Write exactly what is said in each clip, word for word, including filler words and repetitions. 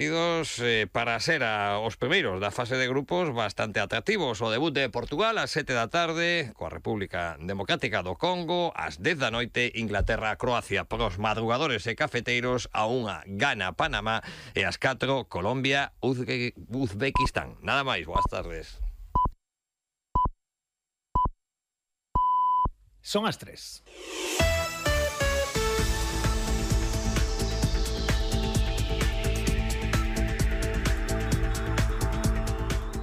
Eh, para ser a, os primeiros da fase de grupos bastante atractivos. O debut de Portugal ás sete da tarde coa República Democrática do Congo, ás dez da noite Inglaterra-Croacia. Pros madrugadores e cafeteiros a unha Ghana Panamá e ás catro Colombia Uzbe Uzbequistán. Nada máis, boas tardes. Son as tres.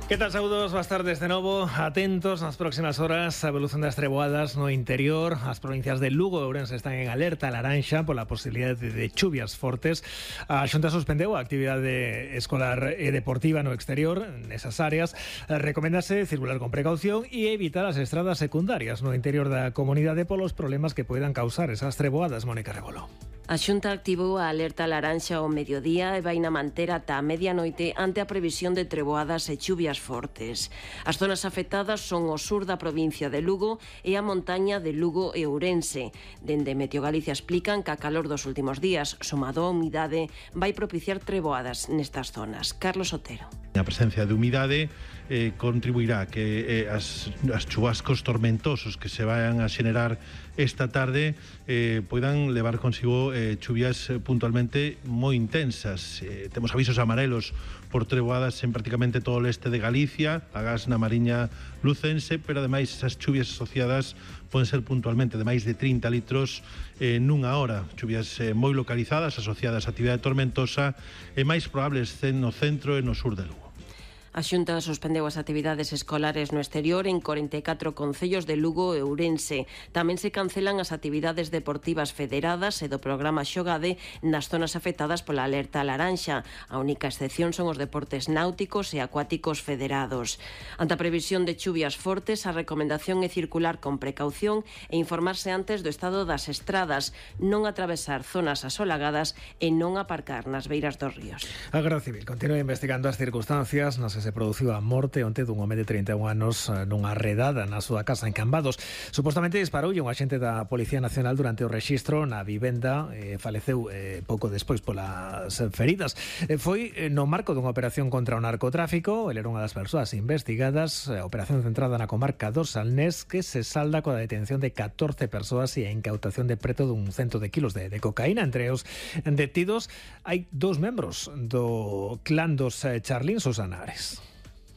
Que tal, saúdos, boas tardes de novo. Atentos nas próximas horas a evolución das treboadas no interior. As provincias de Lugo e Ourense están en alerta laranxa pola posibilidade de chuvias fortes. A Xunta suspendeu a actividade escolar e deportiva no exterior nesas áreas. Recoméndase circular con precaución e evitar as estradas secundarias no interior da comunidade polos problemas que poidan causar esas treboadas. Mónica Rebolo. A Xunta activou a alerta laranxa ao mediodía e vaina manter ata a medianoite ante a previsión de treboadas e chuvias fortes. As zonas afectadas son o sur da provincia de Lugo e a montaña de Lugo e Ourense. Dende Meteo Galicia explican que a calor dos últimos días, somado a humidade, vai propiciar treboadas nestas zonas. Carlos Otero. A presencia de humidade eh, contribuirá que eh, as, as chubascos tormentosos que se vayan a xenerar esta tarde eh, poidan levar consigo eh, chuvias eh, puntualmente moi intensas. Eh, temos avisos amarelos por treboadas en prácticamente todo o leste de Galicia, agás na Mariña Lucense, pero ademais esas chuvias asociadas poden ser puntualmente de máis de trinta litros eh, nunha hora. Chuvias eh, moi localizadas, asociadas a actividade tormentosa e máis probables no centro e no sur de Lugo. A Xunta suspendeu as actividades escolares no exterior en corenta e catro concellos de Lugo e Ourense. Tamén se cancelan as actividades deportivas federadas e do programa Xogade nas zonas afectadas pola alerta laranxa. A única excepción son os deportes náuticos e acuáticos federados. Ante a previsión de chuvias fortes, a recomendación é circular con precaución e informarse antes do estado das estradas, non atravesar zonas asolagadas e non aparcar nas beiras dos ríos. A Garda Civil continúa investigando as circunstancias nas que se produciu a morte onte dun home de trinta e un anos nunha redada na súa casa en Cambados. Supostamente disparoulle un axente da Policía Nacional durante o rexistro na vivenda e faleceu eh, pouco despois polas feridas. Eh, foi no marco dunha operación contra o narcotráfico. Ele era unha das persoas investigadas. A operación centrada na comarca do Salnés, que se salda coa detención de catorce persoas e a incautación de preto dun cento de kilos de, de cocaína. Entre os detidos hai dous membros do clan dos Charlín Susanares.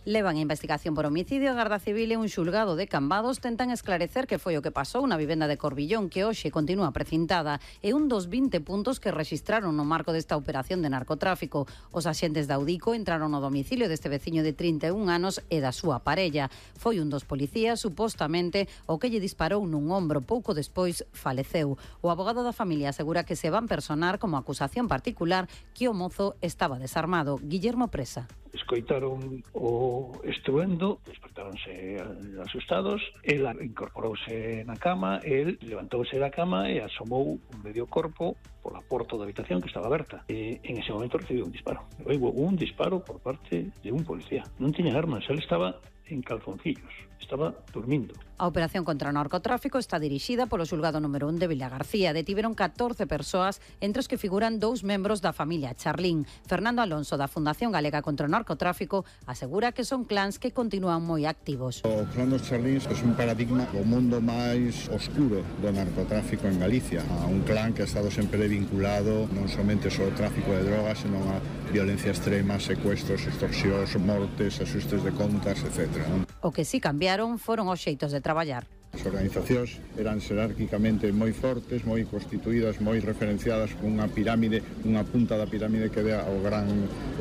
Levan a investigación por homicidio. A Garda Civil e un xulgado de Cambados tentan esclarecer que foi o que pasou na vivenda de Corbillón, que hoxe continúa precintada. É un dos vinte puntos que rexistraron no marco desta operación de narcotráfico. Os axentes da Audico entraron no domicilio deste veciño de trinta e un anos e da súa parella. Foi un dos policías, supostamente, o que lle disparou nun ombro. Pouco despois faleceu. O abogado da familia asegura que se van personar como acusación particular que o mozo estaba desarmado. Guillermo Presa. Escoitaron o estruendo, despertáronse asustados, ela incorporouse na cama, el levantouse da cama e asomou un medio corpo pola porta da habitación que estaba aberta. E en ese momento recibiu un disparo. Houve un disparo por parte de un policía. Non tiña armas, el estaba en calzoncillos, estaba dormindo. A operación contra o narcotráfico está dirixida polo xulgado número un de Vilagarcía. Detiveron catorce persoas, entre os que figuran dous membros da familia Charlín. Fernando Alonso, da Fundación Galega contra o Narcotráfico, asegura que son clans que continúan moi activos. O clan dos Charlín é un paradigma do mundo máis oscuro do narcotráfico en Galicia. A un clan que ha estado sempre vinculado non somente ao tráfico de drogas, senón a violencia extrema, secuestros, extorsións, mortes, asustes de contas, etcétera. O que sí cambiaron foron os xeitos de traballar. As organizacións eran xerárquicamente moi fortes, moi constituídas, moi referenciadas con unha pirámide, unha punta da pirámide que dea ao gran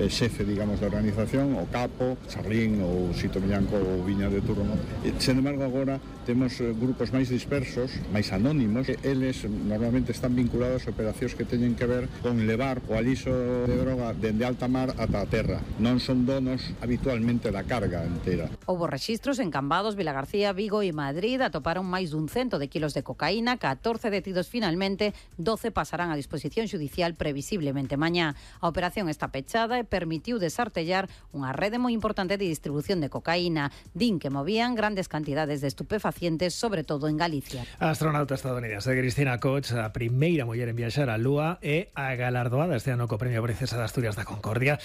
eh, xefe, digamos, da organización, o capo, Charlín ou Sito Millanco ou Viña de Turno. E, sen embargo, agora temos eh, grupos máis dispersos, máis anónimos, que eles normalmente están vinculados a operacións que teñen que ver con levar o aliso de droga dende alta mar ata a terra. Non son donos habitualmente da carga entera. Houbo rexistros en Cambados, Vilagarcía, Vigo e Madrid. Atoparon atoparon máis dun cento de kilos de cocaína, catorce detidos finalmente, doce pasarán a disposición xudicial previsiblemente mañá. A operación está pechada e permitiu desartellar unha rede moi importante de distribución de cocaína. Din que movían grandes cantidades de estupefacientes, sobre todo en Galicia. A astronauta estadounidense Cristina Koch, a primeira muller en viaxar á Lúa e a galardoada este ano co Premio Princesa de Asturias da Concordia.